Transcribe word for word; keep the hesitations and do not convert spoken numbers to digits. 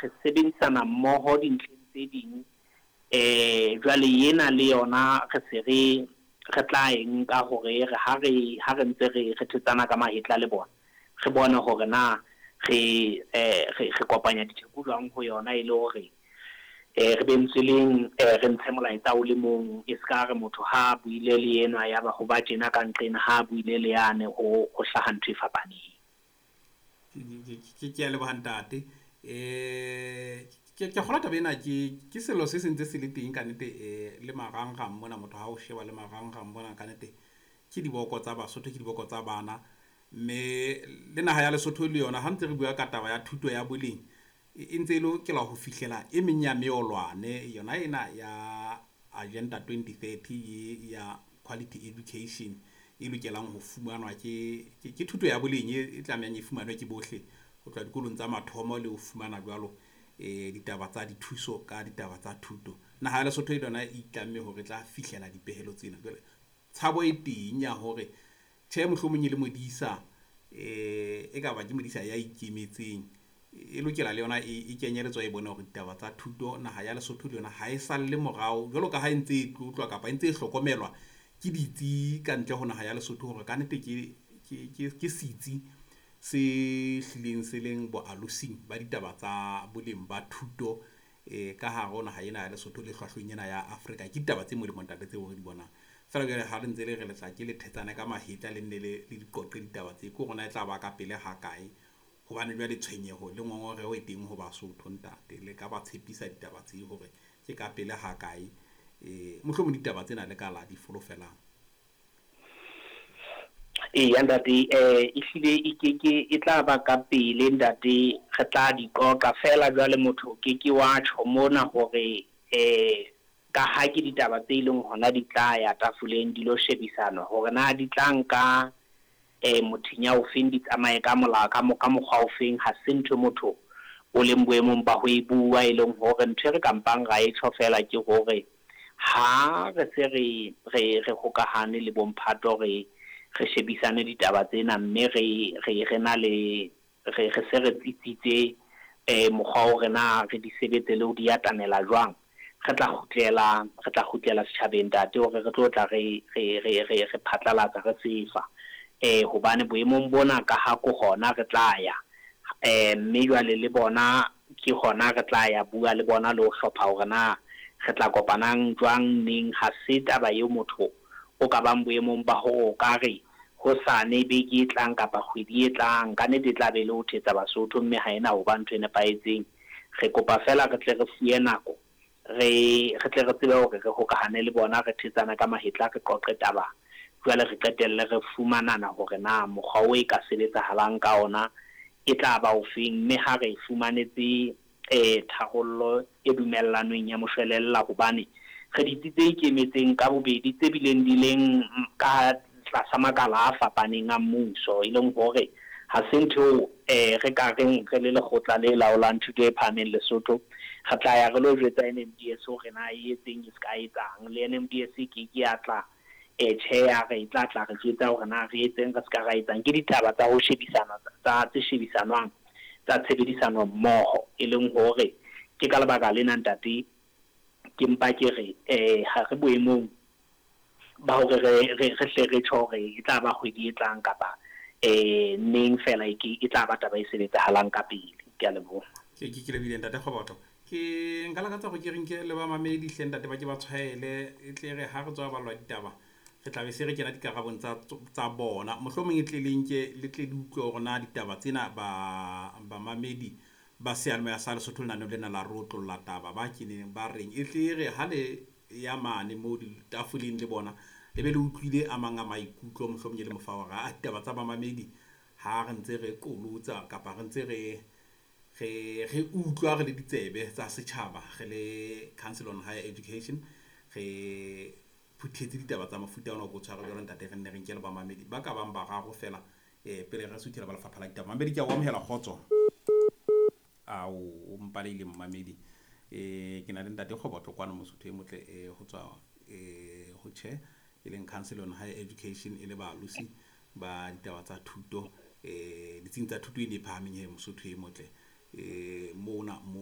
re sebedisana mmoho dintlheng tse ding. Eh jwale yena le yona re se re re tla e nka hore re ha re ha re ntse re re thetsana ka mahetla le bona, re bone hore na re eh re re kopanya ditheko jwang ho yona e le hore eh re be ntseleng eh re ntshe molaetsa o le mong, e ska re motho ha buile le enwa ya ba ho ba tjena ka nqena, ha buile le yane ho ho hlaha ntho e fapaneng. Ke ke a leboha ntate. Eh ke ke kgolwa taba ena ke ke selo se sentse se le teng ka nnete, eh le marangrang mona, motho ha o sheba le marangrang mona ka nnete ke diboko tsa Basotho, ke diboko tsa bana. Mme le naha ya Lesotho le yona ha ntse re bua ka taba ya thuto ya boleng, e ntse e lokela ho fihlela e meng ya meolwane yona ena ya Agenda twenty thirty e ya quality education e lokelang ho fumanwa ke ke thuto ya boleng e tlamehang e fumanwe ke bohle ho tloha dikolong tsa mathomo le ho fumana jwalo eh ditaba tsa dithuso ka ditaba tsa thuto. Naha ya Lesotho e yona e itlamme hore e tla fihlela dipehelo tsena. Jwale tshabo e teng ya hore tjhe mohlomong e le modisa eh e ka ba ke modisa ya ikemetseng, e lokela le yona e kenyeletswa e bone hore ditaba tsa thuto naha ya Lesotho le yona ha e salle morao jwalo ka ha e ntse e tlotlwa kapa e ntse e hlokomelwa ke ditsi ka ntle ho naha ya Lesotho hore ka nnete ke ke ke setsi se hlileng se leng boalosing ba ditaba tsa boleng ba thuto eh ka hare ho naha ena ya Lesotho le hlwahlweng ena ya Afrika. Ke ditaba tse molemo ntate tseo re di bonang. Feela jwale ha re ntse le re letla ke le thetsane ka mahetla le nne le le di qoqe ditaba tse, ke hore na e tla ba ka pele ha kae, hobane jwale tshwenyeho le ngongoreho e teng ho Basotho ntate. Le ka ba tshepisa ditaba tse hore ke ka pele ha kae, eh mohlomong ditaba tsena le ka la di folofelang. Eya ntate, eh ehlile e ke ke e tla ba ka pele ntate, re tla di qoqa fela jwale motho ke ke wa tjho mona hore eh ka ha ke ditaba tse leng hona di tla ya tafoleng di lo shebisana hore na di tla nka eh mothinya ofeng, di tsamaye ka molao ka ka mokgwa ofeng. Ha se ntho motho o leng boemong ba ho e bua, e leng hore ntho e re kampang ra e tjho fela ke hore ha re se re re re hokahane le bomphato, re re shebisane ditaba tsena, mme re re re na le re re se re tsitsitse eh mokgwa o re na re di sebetse le ho di atamela jwang, re tla kgutlela re tla kgutlela setjhabeng ntate hore re tlo tla re re re re re phatlalatsa re sefa eh hobane boemong bona ka ha ko hona re tla ya eh mme jwale le bona ke hona re tla ya bua le bona le ho hlopha hore na re tla kopanang jwang neng. Ha se taba eo motho o ka bang boemong ba hore o ka re hosane beke e tlang kapa kgwedi e tlang, ka nnete e tla be le ho thetsa Basotho, mme ha ena ho ba ntho e nepahetseng. Re kopa fela re tle re fuwe nako, re re tle re tsebe hore re hokahane le bona, re thetsana ka mahetla, re qoqe taba, jwale re qetelle re fumanana hore na mokgwa o e ka sebetsahalang ka ona e tla ba ofeng, mme ha re fumanetse eh tharollo e dumellanweng ya moshwelella, hobane re ditsi tse ikemetseng ka bobedi tse bileng di leng ka tlasa makala a fapaneng a mmuso, e leng hore ha se ntho eh re ka reng re le lekgotla le laolang thuto e phahameng Lesotho re tla ya re lo jwetsa N M D S hore na e etseng e se ka etsang, le N M D S ke ke ya tla eh tjhe ya re tla tla re jwetsa hore na re etseng re se ka ra etsang. Ke ditaba tsa ho shebisana tsa tse shebisanwang tsa tshebedisano mmoho, e leng hore ke ka lebaka lena ntate ke mpa ke re eh ha re boemong ba hore re re re hle re tjho hore e tla ba kgwedi e tlang kapa eh neng fela e ke e tla ba taba e sebetsahalang ka pele. Ke a leboha. Ke ke ke lebile ntate Kgobotlo. Ke nka lakatsa hore ke re nke le ba mamedi hle ntate ba ke ba tshwaele, e tle re ha re tswa balwa ditaba re tla be se re kena dikarabong tsa tsa bona, mohlomong e tle le nke le tle le utlwe hore na ditaba tsena ba bamamedi ba seyalemoya sa Lesotho lenaneo lena la rotlolla taba ba keneng ba reng, e tle re ha le ya mane mo ditafoleng le bona le be le utlwile a mang a maikutlo, mohlomong e le mofa hore a ditaba tsa bamamedi ha re ntse re qolotsa kapa re ntse re re re utlwa re le ditsebe tsa setjhaba, re le Council on Higher Education re phuthetse ditaba tsa mofuta ona o ko tshware jwalo ntate, re nne re nke le bamamedi ba ka bang bararo fela eh pele re suthela ba lefapha la ditaba. Mamedi ke a o amohela kgotso. Ao o mpaleile mmamedi. Eh ke na le ntate Kgobotlo kwano Mosotho e motle eh ho tswa eh ho tjhe e leng Council on Higher Education e le baalosi ba ditaba tsa thuto eh ditsing tsa thuto e ne phahameng he Mosotho e motle eh mona mo